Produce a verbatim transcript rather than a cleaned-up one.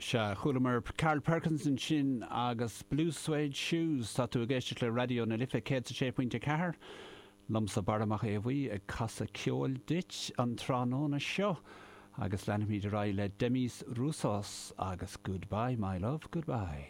Sea, chualamar Carl Perkins ansin agus Blue Suede Shoes. Tá tú ag éisteacht le Raidió na Life céad sé pointe ceathair. Liomsa Barra Mac Aodha Bhuí ag casadh ceoil duit an tráthnóna seo agus leanfaimid ar aghaidh le Demis Roussos agus Goodbye, My Love, Goodbye.